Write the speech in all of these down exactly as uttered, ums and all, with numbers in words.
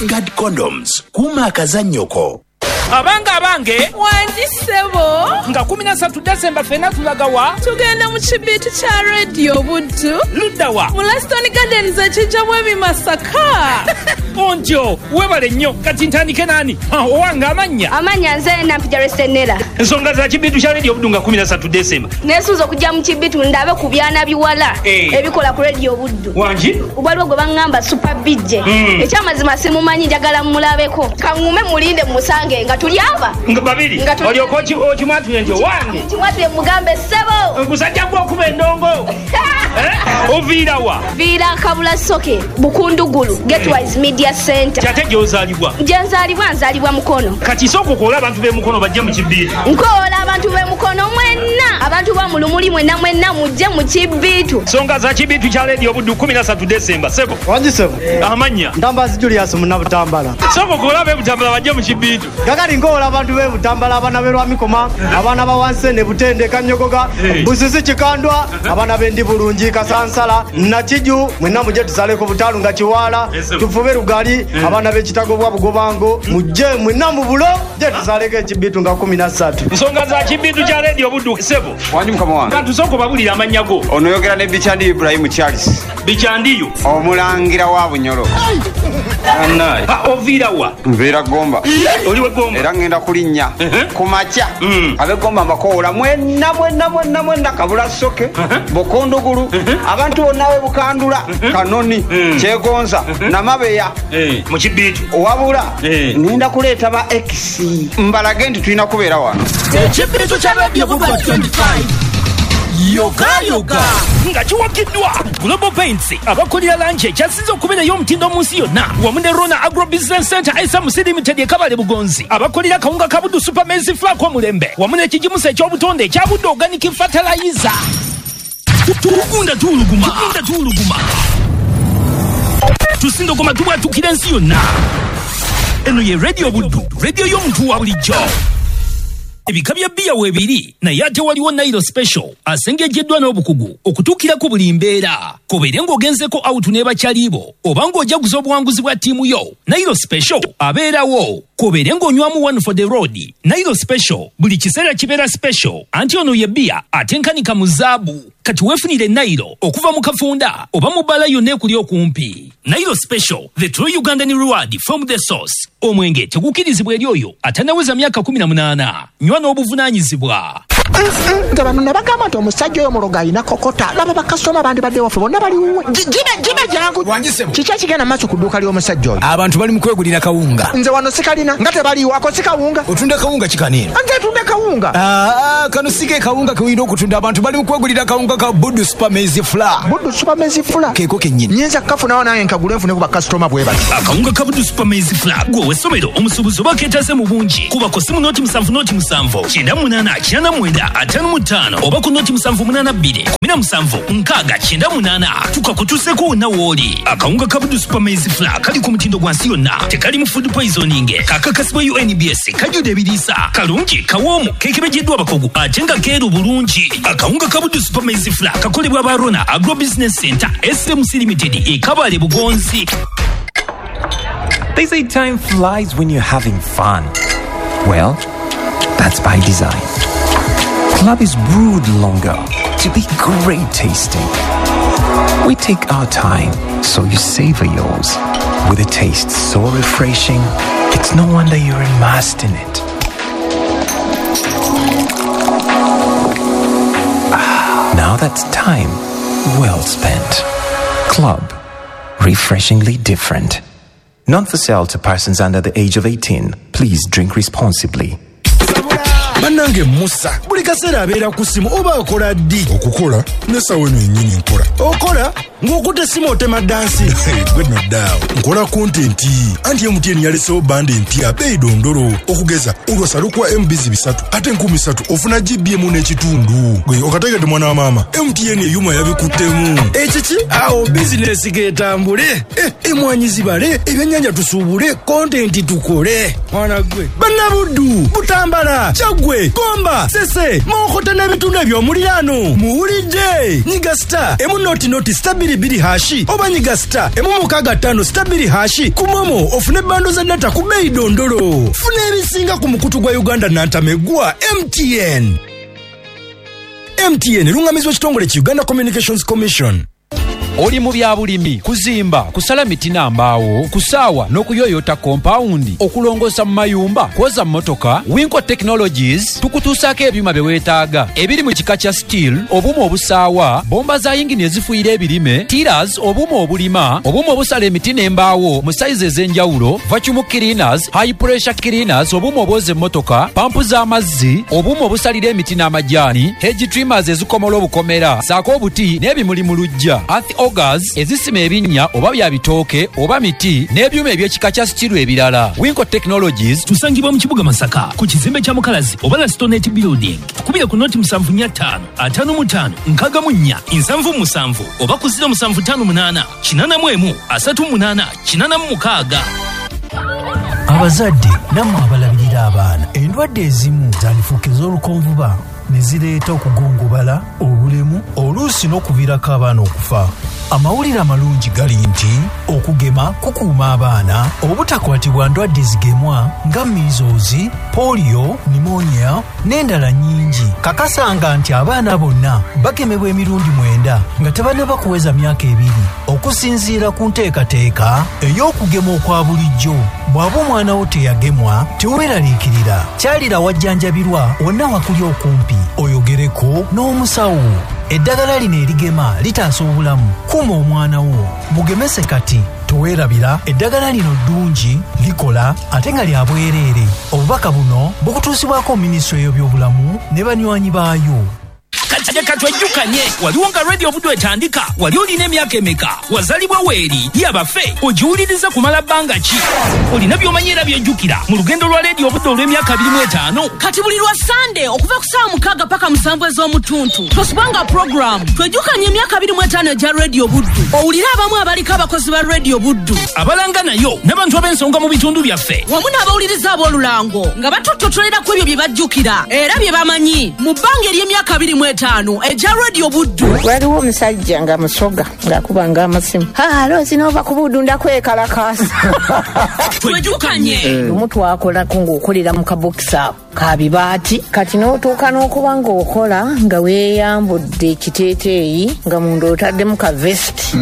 Guard Condoms, kuuma akazannyoko. Abange, abange. Wangi ssebo. Nga kumi na ssatu Desemba ffenna tulagawa? Tugenda mu kibiitu kya Rediyo Buddu. Luddawa? Mu Laston Gardens, ekijjamu ebimasaka. Ontyo webale nnyo. Kati ntandike nani? Owange, amannya? Amannya nze Nampija Resenera. Ensonga za kibiitu kya Rediyo Buddu nga kumi na ssatu Desemba? Neesunze okujja mu kibiitu ndabe ku byana biwala Eh. ebikola ku Rediyo Buddu. Wangi. Waliwo gwe baŋŋamba Super B J. Mm. Ekyamazima simumanyi, njagala mulabeko. Kaŋŋume mulinde musange nga tuli aba Nga babiri. Nga tuli- Olyoka oki- okimwatule nti owange. Kimwatule mugambe ssebo. Gusajja gwokuba endongo. Eh? Oviirawa? Viira Kabula Soke, Bukundugulu, Getwise Media Center. Kyate gy'ozaalibwa? Gye nzaalibwa, nzaalibwa Mukono. Kati sooka okoola abantu b'emukono bajje mu kibiitu. Nkoola abantu b'emukono mwenna, abantu ba mu Lumuli mwenna mwenna, mujje mu kibiitu. Nsonga za kibiitu kya Rediyo Buddu kumi na ssatu Desemba, sebo? Wangi sebo. Amannya? Ntambazi Julius Munnabutambala. Sooka okoola ab'ebutambala bajje mu kibiitu. Kakati nkoola abantu b'ebutambala, abaana b'e Lwamikoma, abaana ba Wansene, Butende, Kanyogoga, Eh. Busisi, Kikandwa, abaana b'endi bulungi, Kasansala, Nakiju, mwenna mujje tusaleko butalu nga Kiwaala. Yes, sir. Tufube Lugali, abaana b'ekitago bwa Bugobango, mujje mwenna mu bulo je tusaleko ekibiitu nga kumi na ssatu. Nsonga za kibiitu kya Rediyo Buddu, sebo? Wangi mukama wange. Kantu sooka obabulire amannya go. Ono yogera ne Bikyandi Ibrahimu Charles. Bikyandiyo. Omulangira wa Bunyolo. Oviirawa? Nviira Gomba. Oli we Gomba? Era ngenda kulinnya ku makya. Ab'egomba mbakoola mwenna mwenna mwenna mwenna, Kabula Soke, Bukundugulu, abantu bonna b'e Bukandula, Kanoni, Kyegonza, Namabeya. Mu kibiitu. Wabula ngenda kuleeta ba ex mbalage nti tulina kubeera wano. Ekibiitu kya Radio Buddu twenty-five, yoga yoga. Nga kiwagiddwa Global Paints, abakolera langi ekyasinze okubeerayo omutindo mu nsi yonna, wamu ne Rona Agro Business Center S M C Limited ekabale Bugonzi, abakolera kawunga ka Buddu Super Maize Flour omulembe, wamu n'ekigimusa eky'obutonde ekya Buddu Organic Fertilizer. Tugunda tuwuluguma, tugunda tuwuluguma, tusindogoma, tubwatukira ensi yonna. Eno ye Radio Buddu, radio y'omuntu wa bulijjo. Ebika bya bbiya weebiri, naye ate waliwo Nairo Special asengejeddwa n'obukugu okutuukira ku buli mbeera. Kobeere ng'ogenzeko out ne bakyalibo oba ng'ojaguza obuwanguzi bwa ttiimu yo, Nairo Special abeerawo. Kobeere ng'onywamu one for the road, Nairo Special buli kiseera kibeera special. Anti ono ye bbiya atenkanika mu zaabu. Kati weefunire Nairo okuva mu kafunda oba mu bbala yonna ekuli okumpi. Nairo Special, the true Ugandan reward from the source. Omwenge tegukkirizibwa eri oyo atannaweza myaka kumi na munaana. Nywa n'obuvunaanyizibwa. Nga bano ne bagamba nti omusajja oyo mulogo alina kokota. Laba bakasitoma bandibadde waffe bonna baliwuwe. Jibe jibe, jangu. Kiki ekigenda maaso ku dduuka ly'omusajja oyo? Abantu bali mu kwegulira kawunga. Nze wano sikalina nga tebaliiwo. Ako si kawunga? Otunda kawunga kikaneeno? Nze tunda kawunga. Aa, kano si ke kawunga kewulina okutunda. Abantu bali mu kwegulira kawunga ka Buddu Super Maize Flour. Buddu Super Maize Flour? Keeko kennyini. Nyinza kukafunawo nange nkagule nfune ku bakasitoma bwe bati? Akawunga ka Buddu Super Maize Flour, gwe ow'essomero, omusuubuzi oba keetase mu bungi, kuba ku simu noti musanvu noti musanvu kyenda munaana kyenda mwenda ataano mu ttaano oba ku noti musanvu munaana bbiri kumi na musanvu nkaaga kyenda munaana, tukakutuuseko wonna w'oli. Akawunga ka Buddu Super Maize Flour kali ku mutindo gwa nsi yonna, tekalimu food poisoning, kakakasibwa U N B S, kajjudde ebiriisa, kalungi, kawoomu, kekebejeddwa abakugu ate nga keeru bulungi. Akawunga ka Buddu Super Maize Flour kakolebwa ba Rona Agro Business Center S M C Limited ekabale Bugonzi. They say time flies when you're having fun. Well, that's by design. Club is brewed longer to be great tasting. We take our time so you savor yours. With a taste so refreshing, it's no wonder you're immersed in it. Ah, now that's time well spent. Club, refreshingly different. Not for sale to persons under the age of eighteen. Please drink responsibly. Bannange, Musa buli kaseera abeera ku ssimu, oba akola ddi? Okukola nesawa eno yennyini nkola. Okola ng'okutta essimu otema dansi? Gwe noddaawo, nkola content. Anti M T N yalesewo bundle empya beeyi dondolo. Okugeza olwasa lukuwa M Bs bisatu ate enkumi ssatu ofuna G B emu n'ekitundu. Gwe okategedde, mwana wa maama, M T N eyuma yabikuttemu. Ekiki awo, bizinesi getambule, Eh, emwanyi zibale, ebyennyanja tusuubule, content tukole. Mwana gwe, bannabuddu, Butambala, Kyaggwe. Mubende, Gomba, Sese, Mawokota n'ebitundu eby'omuliraano. Muwulidde! Nyiga star emu noti noti star bbiri bbiri hashi oba nyiga star emu mukaaga ttaano star bbiri hashi ku MoMo ofune bando za data ku bbeeyi dondolo. Funa ebisinga ku mukutu gwa Uganda nantameggwa M T N. M T N erungamizibwa ekitongole ki Uganda Communications Commission. Oli mu bya bulimi, kuzimba, kusala miti na mbaawo, kusaawa n'okuyoyota kompawundi, okulongoosa mu mayumba, kwoza mmotoka. Winco Technologies tukutuusaako ebyuma bye weetaaga ebiri mu kika kya steel, obuuma obusaawa, bomba za yingini ezifuuyira ebirime, tillers, obuuma obulima, obuuma obusala emiti n'embaawo mu sayizi ez'enjawulo, vacuum cleaners, high pressure cleaners, obuuma obwoza emmotoka, pampu z'amazzi, obuuma obusalira emiti n'amajaani, hedge trimmers ezikomola obukomera, ssaako obuti n'ebimuli mu luggya, earth augers ezisima ebinnya oba bya bitooke oba miti n'ebyuma eby'ekika kya steel ebirala. Winco Technologies tusangibwa mu kibuga Masaka ku kizimbe kya Mukalazi oba Lastonet Building. Tukubire ku noti musanvu nnya ttaano ataano mu ttaano nkaaga mu nnya nsanvu musanvu oba ku ziro musanvu ttaano munaana kinaana mu emu asatu munaana kinaana mu mukaaga. Abazadde nammwe abalabirira abaana, endwadde ezimu zandifuuka ez'olukonvuba ne zireeta okugongobala, obulemu, oluusi n'okuviirako abaana okufa. Amawulire amalungi gali nti okugema kukuuma abaana obutakwatibwa ndwadde zigemwa nga measles, polio, pneumonia n'endala nnyingi. Kakasanga nti abaana bonna bagemebwa emirundi mwenda nga tebannaba kuweza myaka ebiri okusinziira ku nteekateeka ey'okugema okwa bulijjo. Bw'aba omwana wo teyagemwa, teweeraliikirira, kyalira wajjanjabirwa wonna wakuli okumpi oyogereko n'omusawo. Eddagala lino erigema litaasa obulamu. Kuuma omwana wo, mugemese kati. Toweerabira, eddagala lino ddungi, likola ate nga lya bwereere. Obubaka buno bukutuusibwako minisitule y'ebyobulamu ne banywanyi baayo. Kati twejjukanye, waliwo nga Radio Buddu etandika, wali olina emyaka emeka, wazaalibwa weeri, yabaffe, ogiwuliriza kumala bbanga ki? Olina by'omanyi era by'ojjukira mu lugendo lwa Radio Buddu olw'emyaka abiri mu etaano. Kati buli lwa Sande okuva ku ssaawa mukaaga paka musanvu ez'omutuntu tosubwanga puroguramu twejjukanye emyaka abiri mu etaano egya Radio Buddu. Owulire abamu abaliko abakozi ba Radio Buddu abalanga nayo n'abantu ab'ensonga mu bitundu byaffe wamu n'abawuliriza ab'olulango nga batuttotolera ku ebyo bye bajjukira era bye bamanyi mu bbanga ery'emyaka abiri mu etaano egya Radio Buddu. Waliwo omusajja nga musoga ng'akubanga amasimu, alo zinova ku Buddu ndakwekalakaasa. Twejjukanye. Lumu twakolako ng'okolera mu kabokisi ako ka bibaati, kati n'otuuka n'okuba ng'okola nga weeyambudde ekiteeteeyi nga munda otaddemu ka vest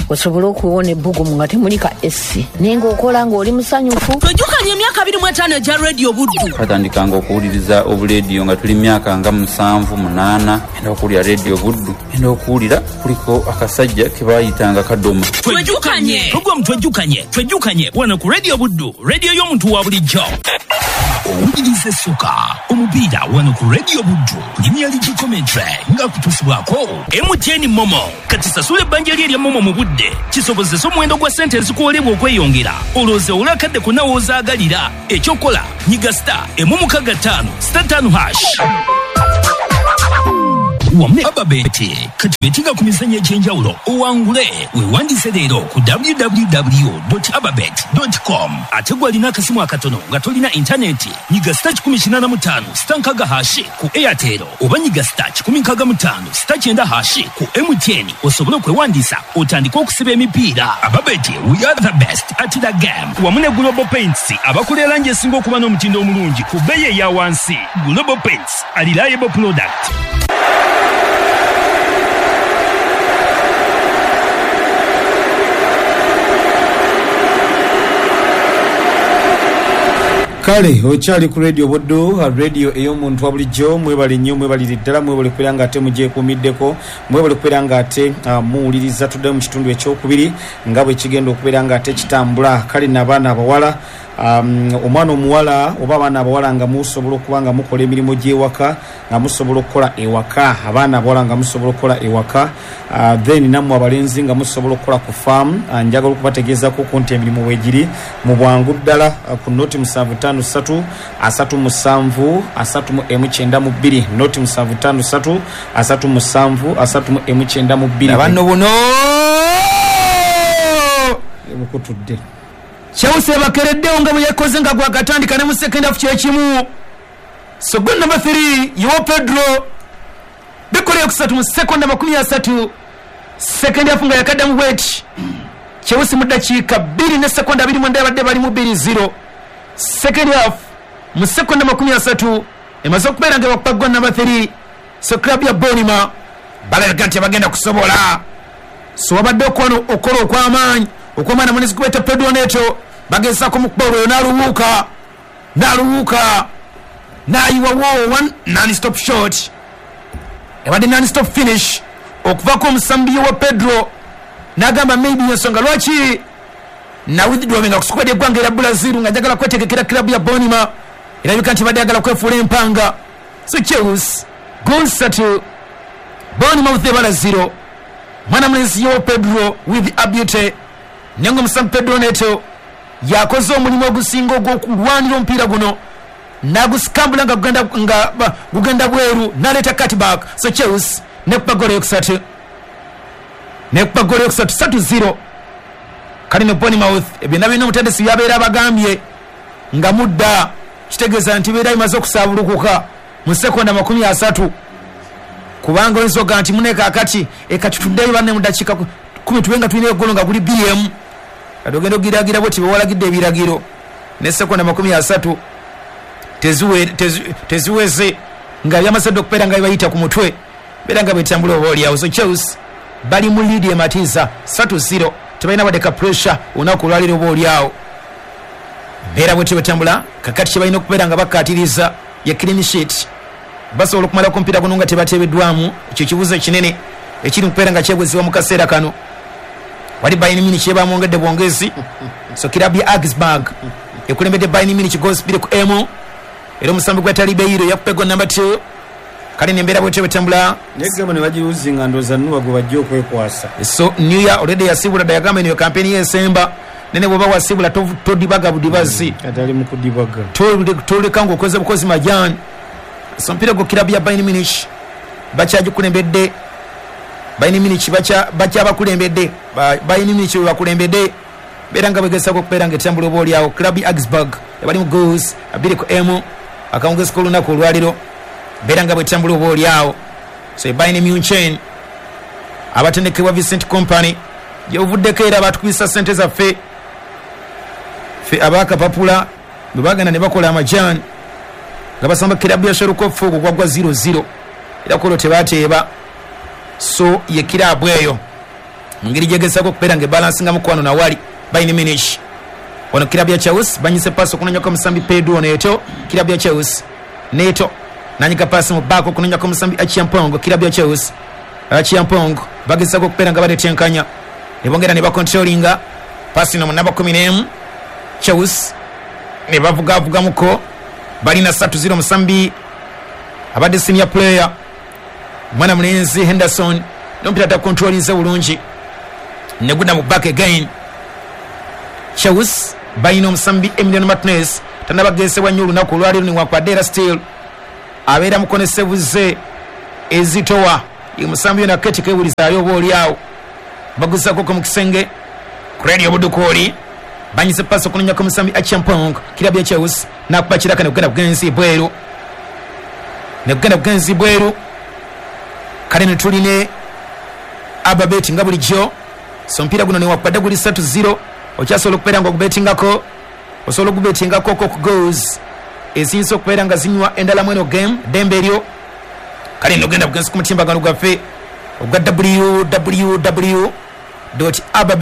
osobole okuwona ebbugumu nga temuli ka esi, naye ng'okola ng'oli musanyufu. Twejjukanye emyaka abiri mu etaano egya Radio Buddu. Twatandikanga okuwuliriza obuleediyo nga tuli myaka nga musanvu munaana, enda okuwulira Radio Buddu, enda okuwulira kuliko akasajja ke baayitanga Kadoma. Twejjukanye. Program twejjukanye, twejjukanye wano ku Radio Buddu, radio y'omuntu wa bulijjo. Owuliriza essuka omupiira wano ku Radio Buddu, Premier League commentary nga kutuusibwako M T N MoMo. Kati sasula ebbanja lye erya MoMo mu budde kisobozesa omuwendo gwa ssente ezikuwolebwa okweyongera, olowooze olwo akadde konna w'ozaagalira. Ekyokola nyiga star emu mukaaga ttaano star ttaano hash wamu Ababeti. Kati betinga ku mizannyo egy'enjawulo owangule. Weewandiise leero ku w w w dot ababet dot com. Ate gwe alina akasimu akatono nga tolina intaneti, nyiga star kikumi kinaana mu ttaano star nkaaga hashi ku Airtel oba nyiga star kikumi nkaaga mu ttaano star kyenda hashi ku M T N osobole okwewandiisa otandike okusiba emipiira. Ababeti, we are the best at the game. Wamu ne Global Paints abakola langi esinga okuba n'omutindo omulungi ku bbeeyi eya wansi. Global Paints, a reliable product. Kale okyali ku Radio Buddu, radio ey'omuntu wa bulijjo. Mwebale nnyo, mwebalire ddala, mwebale kubeera nga ate mugyekuumiddeko, mwebale kubeera nga ate uh, muwuliriza. Tuddeyo mu kitundu ekyokubiri nga bwe kigenda okubeera nga ate kitambula. Kale n'abaana abawala, um, omwana omuwala oba abaana abawala nga musobola okuba nga mukola emirimu gy'ewaka, nga musobola okukola ewaka, abaana abawala nga musobola okukola ewaka, uh, then nammwe abalenzi nga musobola okukola ku faamu. uh, njagala okubategeezaako ku nti emirimu weegiri mu bwangu ddala uh, ku noti musanvu ttaano ssatu asatu musanvu asatu mu emu kyenda mu bbiri, noti musanvu ttaano ssatu asatu musanvu asatu mu emu kyenda mu bbiri. Abanno buno bukutudde Chelsea bakereddewo nga bwe yakoze nga gwakatandika ne mu second half kyekimu. So goal number three Joao Pedro bikola yokusatu mu sekonda makumi asatu. Second half nga yakaddamu bweti Chelsea mu ddakiika bbiri ne sekonda abiri mwenda abadde bali mu bbiri zero. Second half mu sekonda makumi asatu emaze okubeera nga bakuba goal number three. So club ya Bournemouth balaga nti bagenda kusobola. So wabadde okwano okola okw'amaanyi okw'amaanyi munisi kubeta Pedro Neto bagezaako mu kuba olwo n'aluwuuka n'aluwuuka n'ayiwawo one non stop shot ebadde non stop finish okuvaako omusambi wa Pedro n'agamba maybe ensonga lwaki na withdrawing ku squad y'eggwanga erya Brazil nga njagala kwetegekera club ya Bournemouth erabika nti badde ayagala kwefuula empanga. So Chelsea goal ssatu Bournemouth ebala zero. Mwana mulenzi yo Pedro with abute nengo omusambi Pedro Neto yakoze omulimu ogusinga ogw'okulwanira omupiira guno nagusikambula nga gugenda nga gugenda bweru naleeta cutback. So Chelsea nekuba goal yokusatu nekuba goal yokusatu satu zero. Kale ne Bournemouth byonna birina omutendesi byabeera abagambye nga mudda kitegeeza nti beera bimaze okusaabulukuka mu sekonda makumi asatu kubanga oyinza okugaa nti mune kaakati ekati tuddeyo banne mu ddakiika kumi tube nga tulina eggolo nga guli bbiri emu kati ogenda okugiragira bweti bewalagidde ebiragiro ne sekonda makumi asatu teziweze nga byamaze dda okubeera nga bibayita ku mutwe beera nga bwetambula oba oliawo. So Chelsea bali mu lead ematiza satu zero tebalina wadde ka pressure olunaku olwaleero oba oliawo mbeera bwetyo bwetambula. Kakati kye balina okubeera nga bakkaatiriza ye clean sheet basobola okumalako omupiira guno nga tebateebeddwamu. Ekyo kibuuzo ekinene ekiri mu kubeera nga kyebuzibwa mu kaseera kano. Wali Bayern Munich yebamwongedde bwongezi. So club ya Augsburg ekulembedde Bayern Munich goals bbiri ku emu era omusambi gwa Talibeiro yakupa goal number two. Kale nembeera bwetyo bwetambula negemo ne bagiruzinga ndowooza Nuwa gwe bajja okwekwasa. So Neuer already yasibula dda yagamba eno kampeni y'esemba nene bw'oba wasibula todibaga budibazi kati ali mu kudibaga toleka ng'okoze bukozi majani. So omupiira gwo club ya Bayern Munich bakyagikulembedde Bayern Munich bakyabakulembedde Bayern Munich bwe bakulembedde beera nga begezaako okubeera nga etambula oba oliawo. Club ya Augsburg ebali mu goals abiri ku emu akawungezi k'olunaku olwaliro beera nga bwetambula oba oliawo. So Bayern Munich abatendekebwa Vincent Kompany gyebuvuddeko era batukubisa ssente zaffe ffe abakapapula bwe bagenda ne bakola amajaani nga basamba kirabu ya Schalke ogwo gwagwa zero zero era kolo tebateeba. So ye kirabu eyo mu ngeri gyegezaako okubeera nga ebalansinga mukwano nawali Bayern Munich. Wano kirabu ya Chelsea banyise paasi okunonyako omusambi Pedro Neto. Kirabu ya Chelsea Neto nanyiga paasi mu baako okunonyako omusambi Achiampong. Kirabu ya Chelsea Achiampong bagezaako okubeera nga baletenkanya ne bongera ne bakontrolinga paasi no mu namba kumi n'emu Chelsea ne bavugavugamuko balina satu zero musambi abadde senior player mwana mulenzi Henderson n'omupiira takontrolinze bulungi ne gudda mu back again. Chelsea balina omusambi Emiliano Martinez tannabageesebwa nnyo olunaku olwaleero newankubadde era still abeera mukonesebuze ezitowa omusambi yona keti kewulizaayo oba oliawo baguzaako mu kisenge ku Radio Budukooli banyise paasi okunonyako omusambi Achiampong. Kirabu ya Chelsea nakuba kiraka ne kugenda bugenzi bweru ne kugenda bugenzi bweru. Kale ne tuline Ababeti nga bulijjo. So omupiira guno newankubadde guli satu zero okyasobola okubeera nga ogubetingako osobola okubetingako ko ku goals eziyinza okubeera nga zinywa endala mu eno game ddembe eryo. Kale nogenda bugenzi ku mutimbagano gwaffe ogwa w w w dot ababet